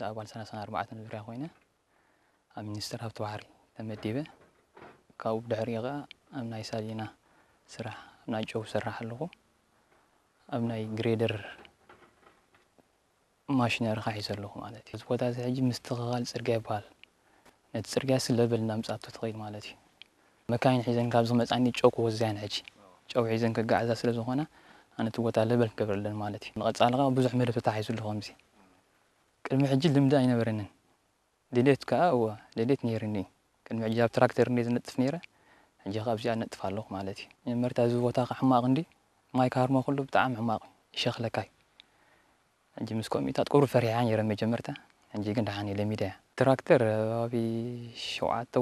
ኣባል ሰላሳን ኣርባዕተን ዙርያ ኮይነ ኣብ ሚኒስቴር ሃብቲ ባሕሪ ተመዲበ። ካብኡ ብድሕሪኡ ኸዓ ኣብ ናይ ሳሊና ስራሕ፣ ኣብ ናይ ጨው ዝሰርሕ ኣለኹ። ኣብ ናይ ግሬደር ማሽነሪ ኸዓ ሒዘ ኣለኹ ማለት እዩ። እዚ ቦታ እዚ ሕጂ ምስትኽኻል ፅርግያ ይበሃል። ነቲ ፅርግያ ሲ ለበል እናምፅኣቶ ትኸይድ ማለት እዩ። መካይን ሒዘን ካብ ዝመፃኒ ጨው ክወዝያን ሕጂ ጨው ሒዘን ክጋዓዛ ስለ ዝኾና ኣነ እቲ ቦታ ለበል ክገብረለን ማለት እዩ። ንቐፃሊ ኸዓ ብዙሕ መደብ ተታሒዙ ኣሎ ከምዚ። ቅድሚ ሕጂ ልምዲ ኣይነበረንን። ድሌት ከኣ እወ ድሌት ነይርኒ። ቅድሚ ሕጂ ኣብ ትራክተር እንደ ዝነጥፍ ነይረ፣ ሕጂ ካብ እዚኣ ነጥፍ ኣለኹ ማለት እዩ። መጀመርታ እዚ ቦታ ከ ሕማቕ እንዲ ማይ ካርሞ ኩሉ ብጣዕሚ ሕማቕ እዩ፣ ይሸኽለካ እዩ። ሕጂ ምስ ኮሚታት ቁሩብ ፈሪሓ ነይረ መጀመርታ፣ ሕጂ ግን ደሓን እየ ለሚደያ። ትራክተር ኣብ ሸውዓተ